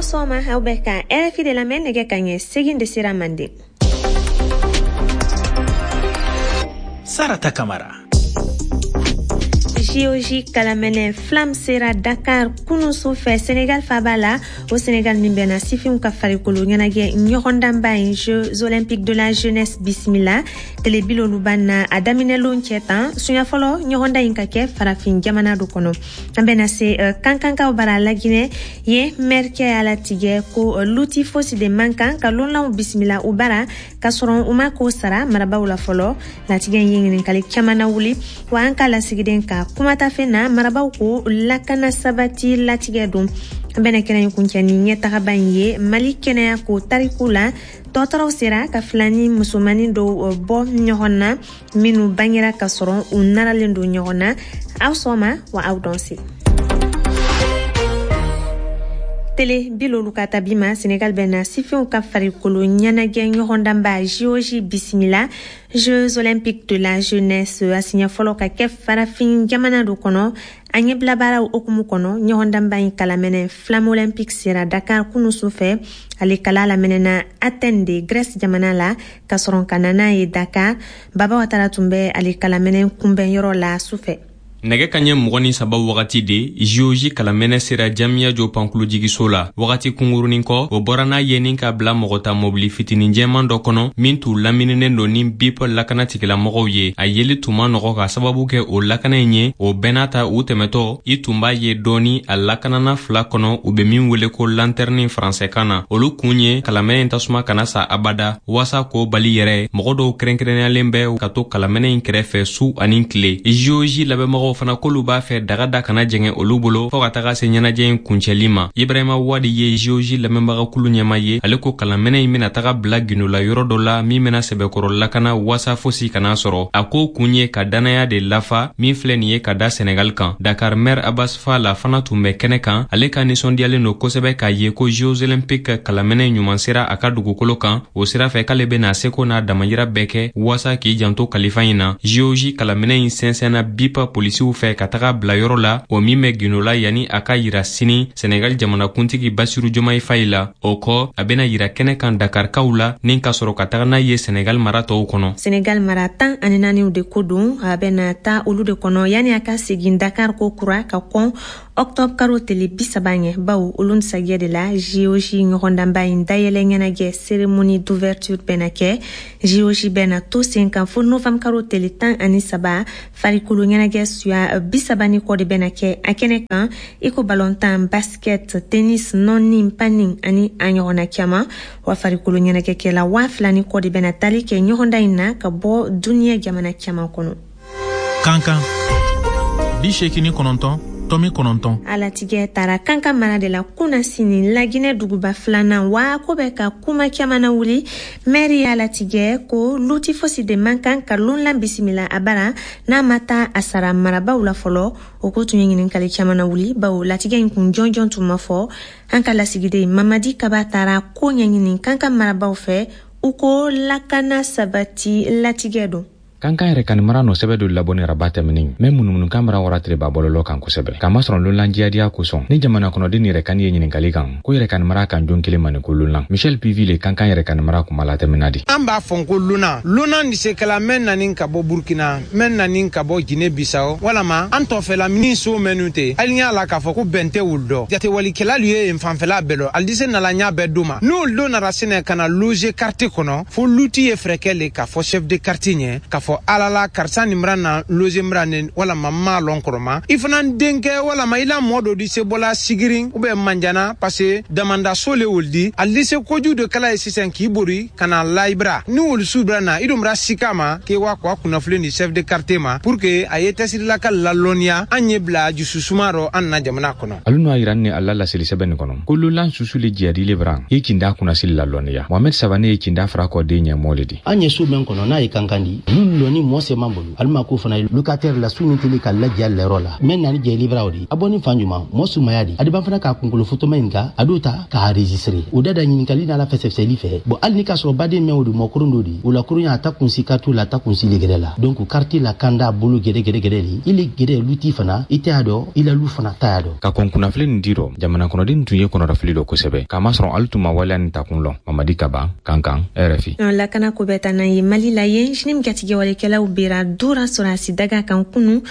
Sɔgɔma, aw bɛ ka RFI de lamɛn. Nɛgɛ ka ɲɛ 8 de sera Manden. Sarata Kamara. JOJ kalamɛnɛ flamme sera Dakar kunu su fɛ, Senegal faba la. O Senegal min bɛna sifinw ka farikolo ɲɛnajɛ ɲɔgɔndanba ye, Jeux olympiques de la jeunesse bisimila tele 50 na a daminɛlon cɛ tan suɲɛ fɔlɔ ɲɔgɔndan in ka kɛ farafin jamana do kɔnɔ. An bɛna se Kankankaw bara Laginɛ yen. Mɛrikɛ y'a latigɛ ko luti fosi de man kan ka lonlanw bisimila u bara k'a sɔrɔ u ma ko sara marabaw la fɔlɔ. Latigɛ ye ɲininkali caman na wuli wa an ka lasigiden ka kumatafe na, marabaw ko lakana sabati latigɛ don. An bɛna kɛnɛ in kuncɛ ni ɲɛtagaba in ye Mali kɛnɛya ko tariku la. Dɔgɔtɔrɔw sera ka filani musomanin dɔw bɔ ɲɔgɔn na minnu bangera ka sɔrɔ u naralen don ɲɔgɔn na. Aw sɔgɔma wa aw dɔn se. Tele 50 ka tabi ma, Senegal bɛna sifinw ka farikolo ɲɛnajɛ ɲɔgɔndanba JOJ bisimila, Jeux olympiques de la jeunesse, a siɲɛ fɔlɔ ka kɛ farafin jamana do kɔnɔ. A ɲɛbila baaraw hukumu kɔnɔ, ɲɔgɔndanba in kalamɛnɛ flamme olympique sera Dakar kunu su fɛ. Ale kala lamɛnɛna Athènes de Grèce jamana la ka sɔrɔ ka na n'a ye Dakar. Baba Watara tun bɛ ale kalamɛnɛ kunbɛnyɔrɔ la su fɛ. Nɛgɛ ka ɲɛ 23 wagati de JOJ kalamɛnɛ sera Jamiyajo pankulujigiso la. Wagati kungurunin kɔ, o bɔra n'a ye ni ka bila mɔgɔ ta mobili fitinin jɛman dɔ kɔnɔ min t'u lamininen don ni BIP lakana tigilamɔgɔw ye. A yeli tun ma nɔgɔ ka sababu kɛ o lakana in ye. O bɛɛ n'a ta, u tɛmɛtɔ, i tun b'a ye dɔɔni a lakanana fila kɔnɔ, u be min wele ko lantɛrɛni faransɛkan na. Olu kun ye kalamɛnɛ in tasuma kana sa abada. Waasa k'o bali yɛrɛ, mɔgɔ dɔw kɛrɛnkɛrɛnniyalen bɛ ka to kalamɛnɛ in kɛrɛfɛ su ani tile. JOJ labɛnbagaw fana k'olu b'a fɛ daga da kana jɛngɛ olu bolo fɔɔ ka taga se ɲɛnajɛ in kuncɛli ma. Ibrahima Wadi ye JOJ lamɛnbagakulu ɲɛma ye. Ale ko kalamɛnɛ in bena taga bila gundola yɔrɔ dɔ la min bena sɛbɛkɔrɔ lakana waasa fosi kana sɔrɔ. A ko kun ye ka dannaya de lafa min filɛ nin ye ka da Senegal kan. Dakar maire Abbas Fall fana tun bɛ kɛnɛ kan. Ale ka ninsɔndiyalen don kosɛbɛ k'a ye ko Jeux olympiques kalamɛnɛ ɲuman sera a ka dugukolo kan. O sira fɛ, k'ale bena seko n'a damayira bɛɛ kɛ waasa k'i janto kalifa in na. JOJ kalamɛnɛ in sɛnsɛnna BIP polisiw fɛ ka taga bila yɔrɔ la, o min bɛ gundola, yanni a ka yira sini Senegal jamanakuntigi Basiru Jomayi Fayi la. O kɔ, a bena yira kɛnɛ kan Dakarikaw la ni ka sɔrɔ ka taga n'a ye Senegal mara tɔw kɔnɔ. Senegal mara 14 de ko don, a bɛna taa olu de kɔnɔ yanni a ka segin Dakar ko kura ka kɔn octobre karo tele 30 ɲɛ, bawo olu sajɛ de la JOJ ɲɔgɔndanba in dayɛlɛ ɲɛnajɛ, cérémonie d'ouverture, bɛna kɛ. JOJ bɛna to sen kan fo novembre karo tele 13. Farikolo ɲɛnajɛ suya 30 ni kɔ de bɛna kɛ a kɛnɛ kan, i ko balontan, basket, tennis, nɔni, panni ani a ɲɔgɔnna caman. Wa farikolo ɲɛnajɛkɛla 2000 ni kɔ de bɛna tali kɛ ɲɔgɔndan in na ka bɔ duniɲɛ jamana caman kɔnɔ. Kankan 89.9. A latigɛ taara Kankan mara de la kunna sini, Laginɛ duguba filanan. Wa ko bɛ ka kuma caman na wuli. Mɛri y'a latigɛ ko luti fosi de man kan ka lonlan bisimila a bara n'a ma taa a sara marabaw la fɔlɔ. O ko tun ye ɲininkali caman na wuli, bawo latigɛ in kun jɔnjɔn tun ma fɔ. An ka lasigiden Mamadi Kaba taara ko ɲɛɲini Kankan marabaw fɛ. U ko lakana sabati latigɛ don. Kankan yɛrɛ kani mara nɔ sɛbɛ dɔ labɔ ni raba tɛmɛnin mɛ munumunukan mara wara ba bɔlɔlɔ kan kosɛbɛ, k'a masɔrɔ lonlan jiyadiya kosɔn ni jamana kɔnɔden yɛrɛ kani ye ɲininkali kan ko yɛrɛ kani mara kan jon kelen ma ni ko lonlan. Michel Pivi le Kankan yɛrɛ kani mara kuma latɛmɛna di. An b'a fɔ ko lona lona ni sekɛla mɛn nani ka bɔ Burkina, mɛn nani ka bɔ Jine Bisawo, walama an tɔfɛla min so mɛnu tɛ hali y'a la k'a fɔ ko bɛn tɛ wulu dɔ. Jatewalikɛlalu ye yen fanfɛla bɛɛ lɔ ali se nala ɲa bɛɛ do ma n'olu don nana sɛnɛ ka na loger quartier kɔnɔ, fo luti ye fɛrɛ kɛ le k'a fɔ chef de quartier ɲɛ k'a fɔ alala karisa nin bɛna na loger bɛna ne walama n m'a lɔn kɔrɔma i fana denkɛ walama i la mɔɔ dɔ di se bɔla Sigirin ou bien Manjana, parce que damanda so le wolu di ali se koju de kala ye sisan k'i bori ka na layibira ni wolu su bɛna na i dun bɛna sika ma k'e wa k'a kunnafoni di chef de quartier ma pour que a ye tɛsirilaka lalɔnniya an ye bila jususuma rɔ an na jamana kɔnɔ. Alu n'o yira ni ala laseli sɛbɛn nin kɔnɔ ko lolan susu le jiyadile bran ye kinda kunnasili lalɔnniya. Mohamed Savane ye kinda fara kɔ den ɲɛmɔgɔ le di. An ye so mɛn kɔnɔ n'a ye Kankan di. Minnu lɔni mɔ sɛman bolo alima ko fana locataire la su min teli ka lajɛ lɛrɔ la mɛ nani jɛ livraw di a bɔ ni fan juman mɔ sumaya di adiban fana k'a kunkolo fotoma in ka a d'o ta k'a enregistrer o da da ɲininkali n'a la fɛsɛfɛsɛli fɛ bon hali ni k'a sɔrɔ baden mɛn o di mɔ koron do di o la koron y'a ta kunsi carte la ta kunsi le gɛrɛ la donc carte la kanda bolo gɛrɛ gɛrɛ gɛrɛ li i le gɛrɛ luti fana i tɛ y'a dɔn i la lu fana ta y'a dɔn. Ka kɔn kunnafili nin di rɔ, jamana kɔnɔden tun ye kɔnɔrɔfili dɔ kosɛbɛ k'a masɔrɔ alu tun ma waleya nin takun lɔn. Mamadi Kaba, Kankan, RFI. Lakana ko bɛ taa n'an ye Mali la yen, JNIM jatigɛwalekɛlaw bera dora sɔrɔdasi daga kan kunu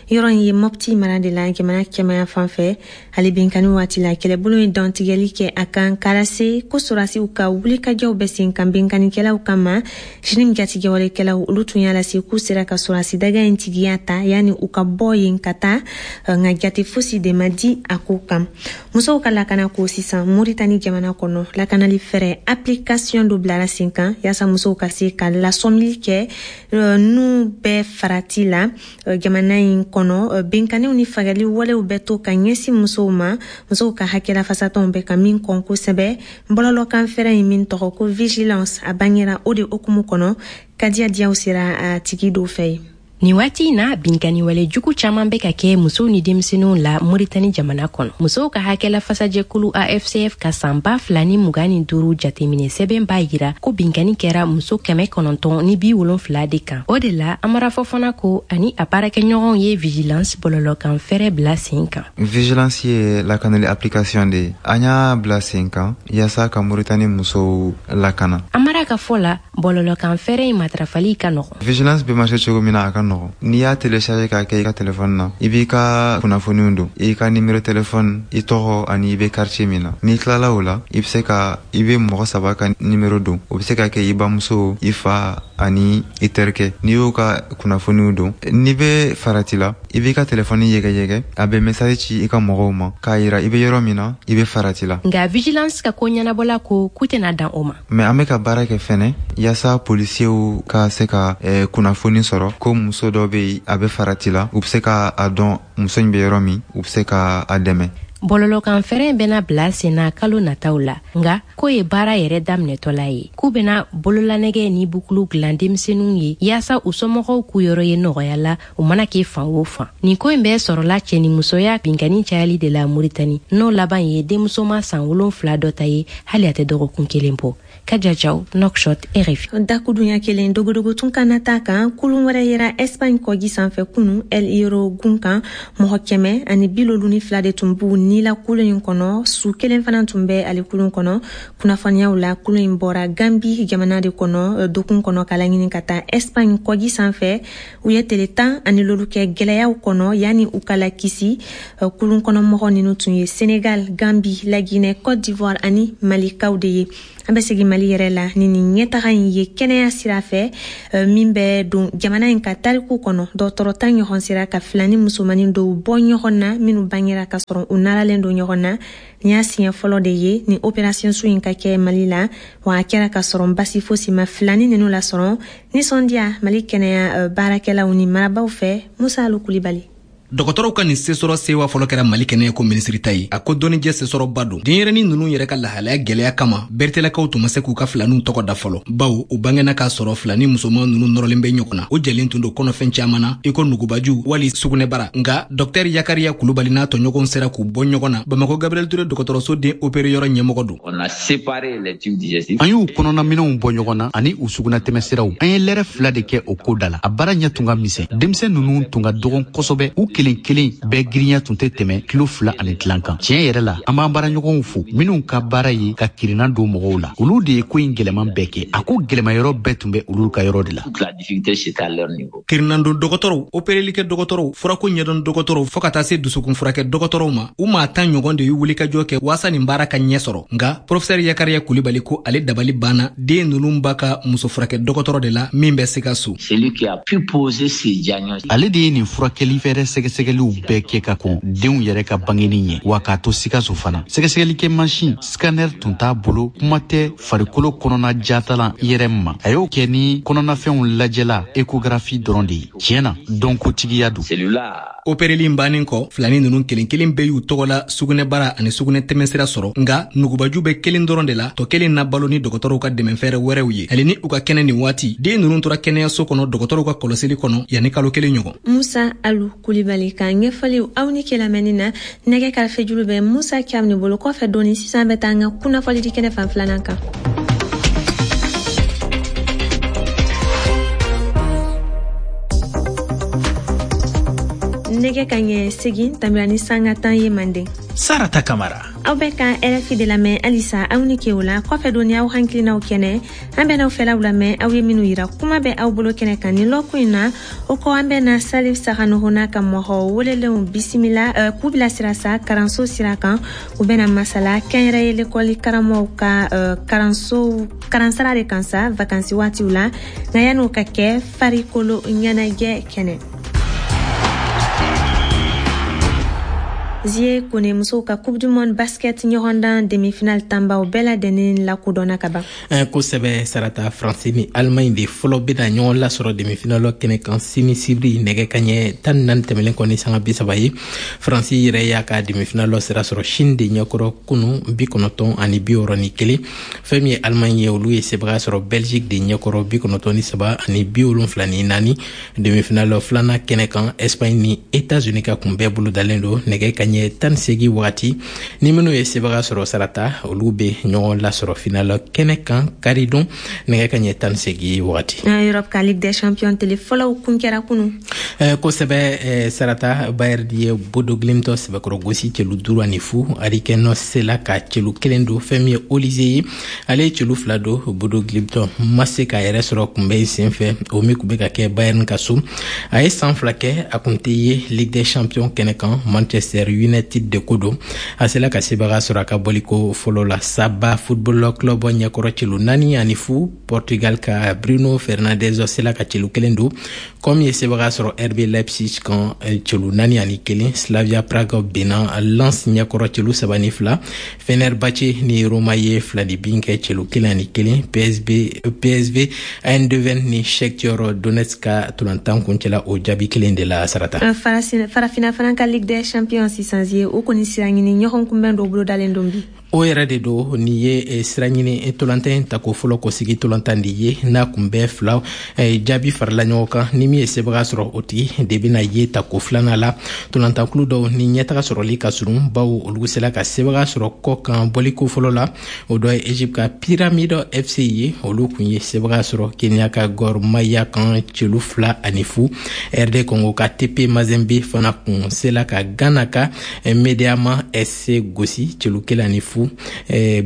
yɔrɔ in ye Mopti mara de la jamana kɛmaya fan fɛ. Ale binkani waati la kɛlɛbolo ye dantigɛli kɛ a kan k'a lase ko sɔrɔdasiw ka wulikajɔw bɛ sen kan binkanikɛlaw kama. JNIM jatigɛwalekɛlaw olu tun y'a lase k'u sera ka sɔrɔdasi daga in tigiya ta yanni u ka bɔ yen ka taa, nka jate fosi de ma di a ko kan. Musow ka lakana ko sisan Moritani jamana kɔnɔ, lakanali fɛɛrɛ application dɔ bilara sen kan yaasa musow ka se ka lasɔmili kɛ n'u bɛɛ farati la jamana in kɔnɔ. Binkaniw ni fagali walew bɛ to ka ɲɛsin musow ma, musow ka hakɛla fasatɔnw bɛ ka min kɔn kosɛbɛ. Bɔlɔlɔkan fɛɛrɛ in min tɔgɔ ko vigilance, a bangera o de hukumu kɔnɔ. Kadia Diaw sera a tigi dɔw fɛ yen. Nin waati in na binkani wale jugu caman bɛ ka kɛ musow ni denmisɛnninw la Moritani jamana kɔnɔ. Musow ka hakɛla fasajɛkulu AFCF ka san 2025 jateminɛ sɛbɛn b'a yira ko binkani kɛra muso 970 de kan. O de la Amara Fofana ko ani a baarakɛɲɔgɔnw ye vigilance bɔlɔlɔkan fɛɛrɛ bila sen kan. Vigilance ye lakanali application de ye. An y'a bila sen kan yaasa ka Moritani musow lakana. Amara ka fɔ la bɔlɔlɔkan fɛɛrɛ in matarafali ka nɔgɔn. Vigilance bɛ marcher cogo min na a ka nɔgɔn. N'i y'a télécharger k'a kɛ i ka téléphone na, i b'i ka kunnafoniw don, i ka numéro téléphone, i tɔgɔ ani i bɛ quartier min na. N'i tilala o la, i bɛ se ka i bɛ mɔgɔ saba ka numéro don. O bɛ se ka kɛ i bamuso, i fa ani i terikɛ. N'i y'o ka kunnafoniw don, n'i bɛ farati la, i b'i ka téléphone yɛgɛyɛgɛ, a bɛ message ci i ka mɔgɔw ma k'a yira i bɛ yɔrɔ min na, i bɛ farati la. Nka vigilance ka ko ɲɛnabɔla ko k'u tɛna dan o ma. Mais an bɛ ka baara kɛ fɛnɛ yaasa polisiw ka se ka kunnafoni sɔrɔ ko muso dɔ bɛ yen a bɛ farati la, u bɛ se ka a dɔn muso in bɛ yɔrɔ min, u bɛ se ka a dɛmɛ. Bɔlɔlɔkan fɛɛrɛ in bɛna bila sen na kalo nataw la, nka k'o ye baara yɛrɛ daminɛtɔla ye. K'u bɛna bololanɛgɛ ni bukulu dilan denmisɛnninw ye yaasa u somɔgɔw k'u yɔrɔ ye nɔgɔya la u mana kɛ fan o fan. Nin ko in bɛɛ sɔrɔla cɛ ni musoya binkani cayali de la Moritani, n'o laban ye denmusoma san 7 dɔ ta ye hali a tɛ dɔgɔkun kelen bɔ. Kadia Diaw, Nouakchott, RFI. Dakudunya kelen dogodogo tun kana ta kan kulun wɛrɛ yera Espagne kɔji sanfɛ kunu El Hierro gun kan. Mɔgɔ 152 de tun b'u ni la kulun in kɔnɔ. Su kelen fana tun bɛ ale kulun kɔnɔ. Kunnafoniyaw la kulun in bɔra Gambi jamana de kɔnɔ dokun kɔnɔ k'a laɲini ka taa Espagne kɔji sanfɛ. U ye tele 15 kɛ gɛlɛyaw kɔnɔ yanni u ka lakisi. Kulun kɔnɔ mɔgɔ ninnu tun ye Sénégal, Gambi, la Guinée, Côte d'Ivoire ani Malikaw de ye. An bɛ segin Mali yɛrɛ la ni nin ɲɛtaga in ye kɛnɛya sira fɛ min bɛ don jamana in ka tariku kɔnɔ. Dɔgɔtɔrɔ 10 ɲɔgɔn sera ka filani musomanin dɔw bɔ ɲɔgɔn na minnu bangera ka sɔrɔ u naralen don ɲɔgɔn na. Nin y'a siɲɛ fɔlɔ de ye ni opération su in ka kɛ Mali la, wa a kɛra ka sɔrɔ basi fosi ma filani ninnu lasɔrɔ. Nisɔndiya Mali kɛnɛya baarakɛlaw ni marabaw fɛ. Musa Alu Kulibali. Dɔgɔtɔrɔw ka nin sesɔrɔ sewa fɔlɔ kɛra Mali kɛnɛya ko minisiri ta ye. A ko dɔnnijɛ sesɔrɔba don. Denyɛrɛnin ninnu yɛrɛ ka lahalaya gɛlɛya kama, Bertelakaw tun ma se k'u ka filaninw tɔgɔ da fɔlɔ, bawo u bangena k'a sɔrɔ filani musoman ninnu nɔrɔlen bɛ ɲɔgɔn na. O jɛlen tun don kɔnɔfɛn caman na i ko nugubaju wali sugunɛbara. Nka dɔktɛr Yakariya Kulubali n'a tɔɲɔgɔnw sera k'u bɔ ɲɔgɔn na. Bamakɔ Gabriel Touré dɔgɔtɔrɔso den opéré yɔrɔ ɲɛmɔgɔ don. An y'u kɔnɔnaminɛnw bɔ ɲɔgɔn na ani u sugunɛtɛmɛsiraw. An ye lɛrɛ 2 de kɛ o ko da la. A baara ɲɛ tun ka misɛn. Denmisɛn ninnu tun ka dɔgɔn kosɛbɛ. U kelen kelen bɛɛ girinya tun tɛ tɛmɛ kilo 2.5 kan. Tiɲɛ yɛrɛ la, an b'an baaraɲɔgɔnw fo minnu ka baara ye ka kirinna don mɔgɔw la. Olu de ye ko in gɛlɛman bɛɛ kɛ. A ko gɛlɛma yɔrɔ bɛɛ tun bɛ olu ka yɔrɔ de la. Kirinnan don dɔgɔtɔrɔw, operelikɛ dɔgɔtɔrɔw, furako ɲɛdɔn dɔgɔtɔrɔw fo ka taa se dusukun furakɛ dɔgɔtɔrɔw ma, u maa 10 ɲɔgɔn de y'u wulikajɔ kɛ waasa nin baara ka ɲɛ sɔrɔ. Nka professeur Yakariya Kulibali ko ale dabali banna den ninnu ba ka muso furakɛ dɔgɔtɔrɔ de la min bɛ Sikaso. Ale de ye nin furakɛli fɛɛrɛ sɛgɛ sɛgɛsɛgɛliw bɛɛ kɛ ka kɔn denw yɛrɛ ka bangeni ɲɛ, wa k'a to Sikaso fana. Sɛgɛsɛgɛlikɛ mansin scanner tun t'a bolo, kuma tɛ farikolo kɔnɔna jatalan IRM ma. A y'o kɛ ni kɔnɔnafɛnw lajɛla échographie dɔrɔn de ye. Tiɲɛ na, dɔnkotigiya don. Opereli in bannen kɔ, filani ninnu kelen kelen bɛɛ y'u tɔgɔ la sugunɛbara ani sugunɛ tɛmɛsira sɔrɔ, nka nugubaju bɛ kelen dɔrɔn de la, tɔ kelen na balo ni dɔgɔtɔrɔw ka dɛmɛfɛɛrɛ wɛrɛw ye. Hali ni u ka kɛnɛ nin waati, den ninnu tora kɛnɛyaso kɔnɔ dɔgɔtɔrɔw ka kɔlɔsili kɔnɔ yanni kalo kelen ɲɔgɔn. Musa Alu Kulibali ka ɲɛfɔliw aw ni ke lamɛnni na. Nɛgɛ karafejuru bɛ Musa Cam ni bolo kɔfɛ dɔɔni. Sisan bɛ taa an ka kunnafɔlidi kɛnɛ fan filanan kan. Nɛgɛ ka ɲɛ 8 tambira ni sanga 10 ye manden. Sarata Kamara. Aw bɛ ka RFI de lamɛn halisa, aw ni ke o la. Kɔfɛ dɔɔni, aw hakilinaw kɛnɛ, an bɛn'aw fɛlaw lamɛn, aw ye minnu yira. Kuma bɛ aw bolo kɛnɛ kan ni lɔkun in na. O kɔ, an bɛna Salif Saganogo n'a ka mɔgɔ welelenw bisimila, k'u bilasira sa karanso sira kan. U bɛna masala kɛnyɛrɛye lekɔli karamɔgɔw ka karanso karansara de kan sa vakansi waatiw la. Nka yan'o ka kɛ, farikolo ɲɛnajɛ kɛnɛ. Zie Kone, musow ka Coupe du monde basket ɲɔgɔndan demi-finale tanbaw bɛɛ ladɛnnen lakodɔnna ka ban. Kosɛbɛ Sarata, Faransi ni Allemagne de fɔlɔ bɛna ɲɔgɔn lasɔrɔ demi-finale kɛnɛ kan sini sibiri nɛgɛ kaɲɛ 14 tɛmɛlen kɔ ni sanga 30 ye. Faransi yɛrɛ y'a ka demi-finale sira sɔrɔ Chine de ɲɛkɔrɔ kunu 90 61. Fɛn min ye Allemagne ye, olu ye sebaga sɔrɔ Belgique de ɲɛkɔrɔ 93 ani 74. Demi-finale filanan kɛnɛ kan, Espagne ni États-Unis ka kunbɛn bolodalen don nɛgɛ kaɲɛ 18 wagati. Ni minnu ye sebaga sɔrɔ Sarata, olu bɛ ɲɔgɔn lasɔrɔ finale kɛnɛ kan karidon nɛgɛ kaɲɛ 18 wagati. Europe ka Ligue des champions tele fɔlɔw kun kɛra kunu. Kosɛbɛ Sarata, Bayern ye Bodo Glimt sɛbɛkɔrɔ gosi celu 5-0. Harry Kane sela ka celu kelen don. Fɛn min ye Olise ye, ale ye celu fila don. Bodo Glimt ma se k'a yɛrɛ sɔrɔ kunbɛn sen fɛ, o min kun bɛ ka kɛ Bayern ka so. A ye san 2 kɛ a kun tɛ ye Ligue des champions kɛnɛ kan. Manchester United de ko don, a sela ka sebaga sɔrɔ a ka bɔliko fɔlɔ la Saba Football Club ɲɛkɔrɔ celu 4-0. Portugal ka Bruno Fernandes sela ka celu kelen don. Comme ye sebaga sɔrɔ RB Leipzig kan celu 4-1. Slavia Prague benna Lens ɲɛkɔrɔ celu 3-2. Fenerbahce ni Roma ye fila ni bin kɛ celu 1-1. PSV Eindhoven ni Shakhtar Donetsk ka tolantan kuncɛla o jaabi kelen de la, Sarata. Farafina fana ka Ligue des champions sisan ye, o kɔni sira ɲini ɲɔgɔn kunbɛn dɔ bolodalen don bi. O yɛrɛ de don. Nin ye sira ɲini tolantan tako fɔlɔ kɔsigi tolantan de ye, n'a kun bɛ fila jaabi farala ɲɔgɔn kan. Ni min ye sebaga sɔrɔ, o tigi de bɛna ye tako filanan la. Tolantankulu dɔw ni ɲɛtaga sɔrɔli ka surun, bawo olu sera ka sebaga sɔrɔ kɔ kan bɔliko fɔlɔ la. O dɔ ye Egypte ka Pyramide FC ye, olu kun ye sebaga sɔrɔ Kenya ka Gor Mahia kan celu 2-0. RD Congo ka TP Mazembe fana kun sela ka Ghana ka Medeama SC gosi celu 1-0.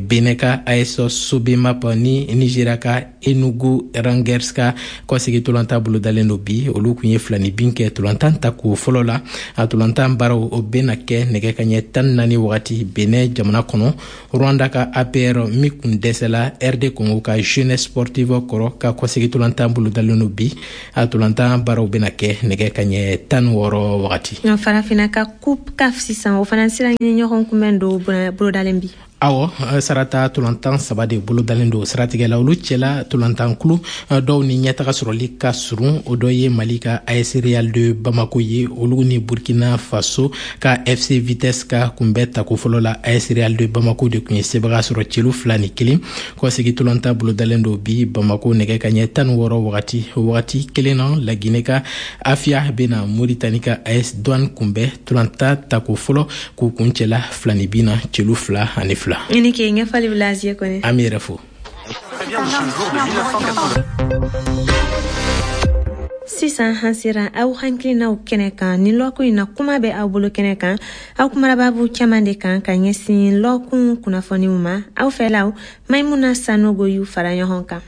Benin ka AS Sobemap ni Nigeria ka Enugu Rangers ka kɔsegi tolantan bolodalen don bi, olu kun ye fila ni bin kɛ tolantan tako fɔlɔ la. A tolantan baaraw o bena kɛ nɛgɛ kaɲɛ 14 wagati Benin jamana kɔnɔ. Rwanda ka APR min kun dɛsɛla RD Congo ka Jeunesse Sportive kɔrɔ ka kɔsegi tolantan bolodalen don bi, a tolantan baaraw bena kɛ nɛgɛ kaɲɛ 16 wagati. Farafina ka Coupe CAF sisan, o fana sira ɲini ɲɔgɔn kunbɛn do bolodalen bi. Awɔ Sarata, tolantan saba de bolodalen don siratigɛ la. Olu cɛla, tolantankulu dɔw ni ɲɛtaga sɔrɔli ka surun. O dɔ ye Mali ka AS Real de Bamako ye, olu ni Burkina Faso ka FC Vitesse ka kunbɛ tako fɔlɔ la, AS Real de Bamako de kun ye sebaga sɔrɔ celu 2-1. Kɔsegi tolantan bolodalen don bi Bamako nɛgɛ ka ɲɛ 16 wagati. Wagati kelen na, Laginɛ ka Afia bena Moritani ka AS Douane kunbɛ tolantan tako fɔlɔ k'u kuncɛla fila ni bin na celu 2-2. I ni ke ɲɛfɔli bɛ Laziye Kone. An b'i yɛrɛ fo. Sisan an sera aw hakilinaw kɛnɛ kan ni lɔkun in na. Kuma bɛ aw bolo kɛnɛ kan. Aw kumara babu caman de kan ka ɲɛsin lɔkun kunnafoniw ma. Aw fɛlaw, Maimuna Sanogo y'u fara ɲɔgɔn kan.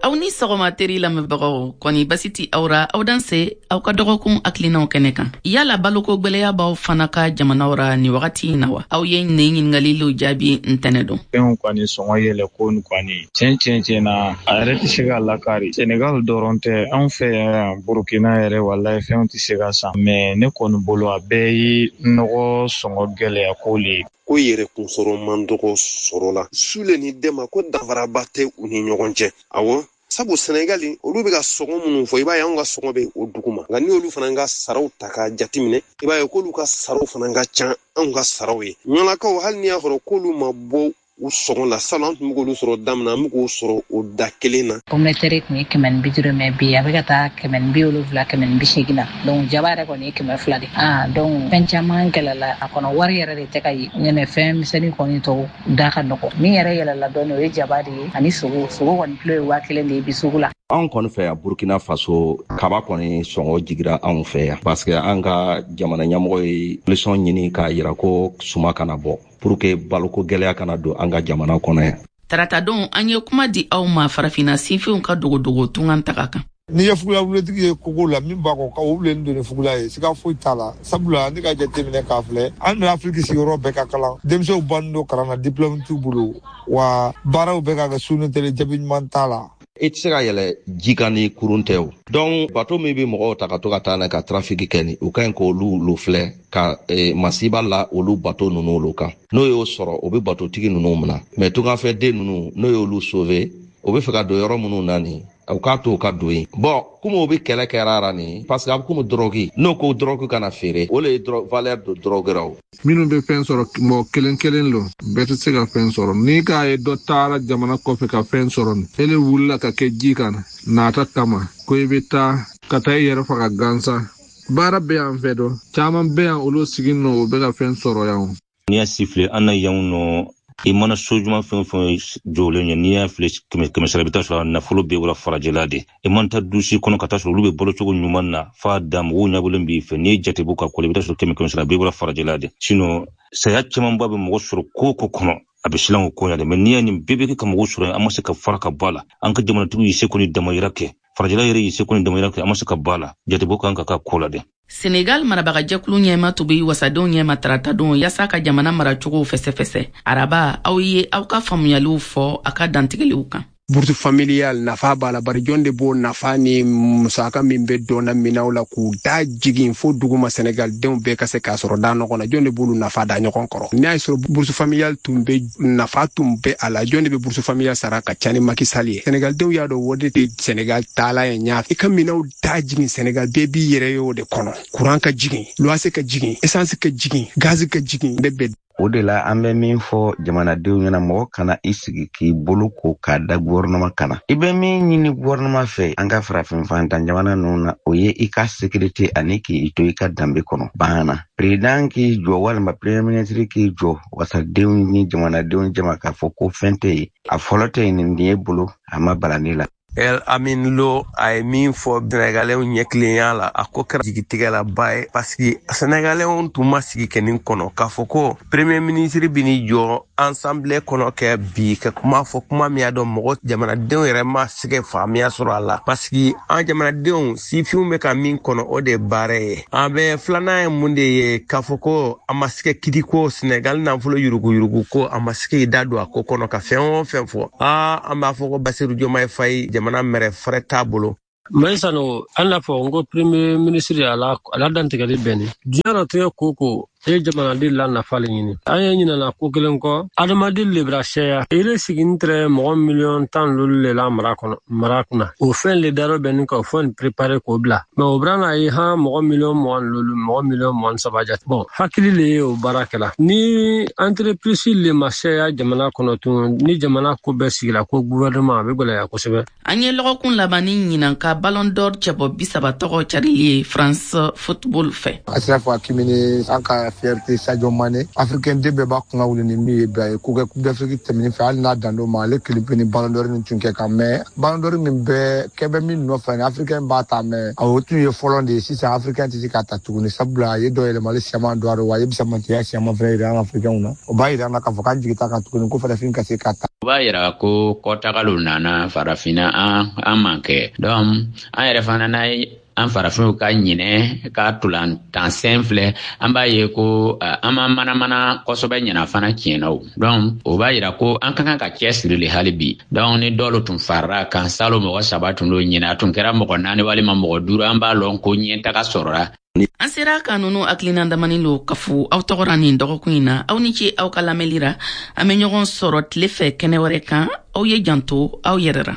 Aw ni sɔgɔma, teri lamɛnbagaw. Kɔni basi ti aw ra? Aw danse aw ka dɔgɔkun hakilinaw kɛnɛ kan. Yala baloko gwɛlɛya b'aw fana ka jamanaw ra ni wagati in na wa? Aw ye nin ɲiningalilu jaabi ntɛnɛ don. Fɛnw kɔni sɔngɔ yɛlɛ ko nin kɔni, tiɲɛ tiɲɛ tiɲɛ na, a yɛrɛ tɛ se ka lakari. Senegal dɔrɔn tɛ, anw fɛ yan Burukina yɛrɛ, walayi, fɛnw tɛ se ka san. Mais ne kɔni bolo, a bɛɛ ye nɔgɔ sɔngɔ gɛlɛya ko le ye. Ko yɛrɛkun sɔrɔ man dɔgɔ sɔrɔ la sule ni dɛma ko danfaraba tɛ u ni ɲɔgɔn cɛ. Awɔ, sabu Sɛnɛgali olu bɛ ka sɔngɔ minnu fɔ, i b'a ye anw ka sɔngɔ bɛ o duguma. Nka ni olu fana ka saraw ta k'a jateminɛ, i b'a ye k'olu ka saraw fana ka ca anw ka saraw ye. Ɲɔlakaw, hali n'i y'a sɔrɔ k'olu ma bɔ u sɔngɔ la, salon an tun bɛ k'olu sɔrɔ daminɛ, an bɛ k'o sɔrɔ o da kelen na. Pomme de terre tun ye 150, mais bi a bɛ ka taa 170, 180 na. Donc jaba yɛrɛ kɔni ye 200 de. Ah, donc fɛn caman gɛlɛla a kɔnɔ, wari yɛrɛ de tɛ ka ye ɲɛnɛ. Fɛn misɛnnin kɔni tɔw da ka nɔgɔ. Min yɛrɛ yɛlɛla dɔɔni, o ye jaba de ye ani sogo. Sogo kɔni kilo ye 1000 de ye bi sugu la. Anw kɔni fɛ yan Burkina Faso, kaba kɔni sɔngɔ jigira anw fɛ yan, parce que an ka jamana ɲɛmɔgɔ ye solution ɲini k'a yira ko suma kana bɔ pour que baloko gɛlɛya kana don an ka jamana kɔnɔ yan. Taratadon, an ye kuma di aw ma Farafinna sinfinw ka dogodogo tungan taga kan. N'i ye fugulabuletigi ye kogo la, min b'a kɔ ka o wulen don ni fugula ye, siga foyi t'a la. Sabula ne ka jateminɛ k'a filɛ, an bɛ Afiriki sigiyɔrɔ bɛɛ ka kalan, denmisɛnw bannen don kalan na, diplôme t'u bolo wa, baaraw bɛ ka kɛ su ni tele, jaabi ɲuman t'a la. I tɛ se ka yɛlɛ ji kan ni kurun tɛ o. Donc bato min bɛ mɔgɔw ta ka to ka taa n'a ka trafic kɛ ni, u ka ɲi k'olu lo filɛ ka masiba la olu bato ninnu olu kan. N'o y'o sɔrɔ, o bɛ batotigi ninnu minɛ. Mais tungafɛden ninnu, n'o y'olu sauver, o bɛ fɛ ka don yɔrɔ minnu na nin, u k'a to u ka don yen. Bɔn, komi o bɛ kɛlɛ kɛra ra nin, parce que a bɛ komi drogue, n'o ko drogue kana feere, o le ye valeur don drogue ra o. Minnu bɛ fɛn sɔrɔ, mɔgɔ kelen kelen lo, bɛɛ tɛ se ka fɛn sɔrɔ. N'i k'a ye dɔ taara jamana kɔfɛ ka fɛn sɔrɔ nin, ele wulila ka kɛ ji kan nata kama ko i bɛ taa ka taa i yɛrɛ faga gansan. Baara bɛ yan fɛ, dɔ caman bɛ yan, olu sigi nɔ, o bɛ ka fɛn sɔrɔ yan o. N'i y'a sifile an na yan nɔ, i mana so ɲuman fɛn o fɛn jɔlen ye, n'i y'a filɛ kɛmɛ kɛmɛ sara, i bɛ taa sɔrɔ nafolo bɛɛ bɔra farajɛla de. I man taa dusi kɔnɔ ka taa sɔrɔ olu bɛ balo cogo ɲuman na f'a dan, mɔgɔw ɲɛbɔlen b'i fɛ. N'i ye jate bɔ ka kɔlɔ, i bɛ taa sɔrɔ kɛmɛ kɛmɛ sara, bɛɛ bɔra farajɛla de. Sinon saya camanba bɛ mɔgɔ sɔrɔ ko o ko kɔnɔ, a bɛ silan o ko ɲɛ de. Mais n'i y'a nin bɛɛ bɛ kɛ ka mɔgɔw sɔrɔ, an ma se ka fara ka bɔ a la. An ka jamanatigiw y'i seko ni damayira kɛ, farajɛla yɛrɛ y'i seko ni damayira kɛ, an ma se ka bɔ a la. Jatebɔ kan ka k'a ko la dɛ. Senegal marabagajɛkulu ɲɛma tun be wasadenw ɲɛma taratadon yaasa ka jamana maracogow fɛsɛfɛsɛ. Araba, aw ye aw ka faamuyaliw fɔ a ka dantigɛliw kan. Bourse familiale nafa b'a la, bari jɔn de b'o nafa ni musaka min bɛ dɔnna minɛnw la k'u da jigin fo duguma, Senegal denw bɛɛ ka se k'a sɔrɔ da ɲɔgɔn na? Jɔn de b'olu nafa da ɲɔgɔn kɔrɔ? N'a y'a sɔrɔ bourse familiale tun bɛ, nafa tun bɛ a la, jɔn de bɛ bourse familiale sara ka ca ni Macky Sall ye? Senegal denw y'a dɔn o de tɛ Senegal taala ye ɲɛ. I ka minɛnw da jigin, Senegal bɛɛ b'i yɛrɛ ye o de kɔnɔ. Courant ka jigin, loyer ka jigin, essence ka jigin, gaz ka jigin, bɛɛ bɛ. O de la an bɛ min fɔ jamanadenw ɲɛna, mɔgɔ kana i sigi k'i bolo ko k'a da gouvernement kana. I bɛ min ɲini gouvernement fɛ, an ka farafin fantan jamana ninnu na, o ye i ka sécurité ani k'i to i ka danbe kɔnɔ banna. Président k'i jɔ walima premier ministre k'i jɔ wasadenw ni jamanadenw jama k'a fɔ ko fɛn tɛ yen, a fɔlɔ tɛ yen, nin ye bolo a ma balani la. El Amin Lo a ye min fɔ Sénégalais ɲɛtilenya la, a ko kɛra jigitigɛlaba ye, parce que Sénégalais tun ma sigi kɛ nin kɔnɔ k'a fɔ ko premier ministre bɛ n'i jɔ assemblée kɔnɔ kɛ bi ka kuma fɔ, kuma min y'a dɔn mɔgɔ jamanadenw yɛrɛ ma se ka faamuya sɔrɔ a la, parce que an jamanadenw sifinw bɛ ka min kɔnɔ, o de ye baara ye. An bɛ filanan ye mun de ye? K'a fɔ ko a ma se ka kiti ko Sénégal nafolo yuruguyurugu ko, a ma se k'i da don a ko kɔnɔ ka fɛn o fɛn fɔ. Aa, an b'a fɔ ko Basiru Diomaye Faye, jamana mɛrɛ fɛrɛ t'a bolo. Maïsano, an n'a fɔ n ko premier ministre ala ala dantigɛli bɛnni diɲɛ natigɛ ko ko e ye jamanaden la nafa le ɲini. An ye ɲinana ko kelen kɔ, adamaden lebira sɛya ile sigini tɛrɛ mɔgɔ miliyɔn 15 le la mara kɔnɔ, mara kunna. O fɛn le darɔ bɛnni ka o fɛn préparer k'o bila, mais o bɛna ye han mɔgɔ miliyɔn 25, mɔgɔ miliyɔn 23 jate. Bon, hakili le ye o baara kɛla ni entreprise le ma sɛya jamana kɔnɔ tun ni jamana ko bɛɛ sigila ko gouvernement, a bɛ gwɛlɛya kosɛbɛ. An ye lɔgɔkun laban ni ɲinan ka Ballon d'Or cɛbɔ 30 tɔgɔ carili ye France Football fɛ. Achraf Hakimi ni an ka fierté Sadio Mané. Africain den bɛɛ b'a kunna wuli ni min ye bi, a ye ko kɛ Coupe d'Afrique tɛmɛnen fɛ, hali n'a dan d'o ma, ale kelen pe ni Ballon d'Or nin tun kɛ kan. Mais Ballon d'Or min bɛɛ kɛ bɛ min nɔfɛ ni Africain b'a ta, mais o tun ye fɔlɔ de ye. Sisan Africain tɛ se k'a ta tuguni, sabula a ye dɔ yɛlɛmali siaman don a rɔ, wa a ye bisamantiya siaman fɛnɛ yira an Africainw na. O b'a yira an na k'a fɔ k'an jigi t'a kan tuguni ko farafin ka se k'a ta. O b'a yira ko kɔtagaliw nana farafinna an man kɛ. Donc an yɛrɛ fana n'a ye an farafinw ka ɲinɛ ka tolantan sen filɛ, an b'a ye ko an ma manamana kosɛbɛ ɲina fana tiɲɛna o. Donc o b'a yira ko an ka kan ka cɛsiri le hali bi. Donc ni dɔlu tun farara kan, salo mɔgɔ 3 tun don, ɲinɛ a tun kɛra mɔgɔ 4 walima mɔgɔ 5, an b'a lɔn ko ɲɛtaga sɔrɔra. An sera ka nunu hakilina damani lo kafo aw tɔgɔra nin dɔgɔkun in na. Aw ni ce aw ka lamɛnli ra. An bɛ ɲɔgɔn sɔrɔ tile fɛ kɛnɛ wɛrɛ kan. Aw ye janto aw yɛrɛ ra.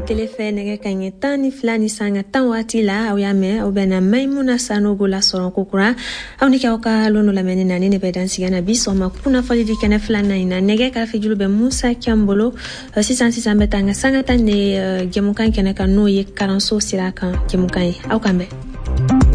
Tele fɛ nɛgɛ ka ɲɛ 12:10 waati la, aw y'a mɛn, aw bɛna Maimuna Sanogo lasɔrɔ kokura. Aw ni kɛ aw ka lon lamɛnni na, ni ne bɛ dansiga na bi sɔgɔma kunnafoni di kɛnɛ filanan in na. Nɛgɛ karafejulu bɛ Musa Cam bolo. Sisan sisan bɛ taa an ka sanga tan de jɛmukan kɛnɛ kan, n'o ye kalanso sira kan jɛmukan ye. Aw kan bɛn.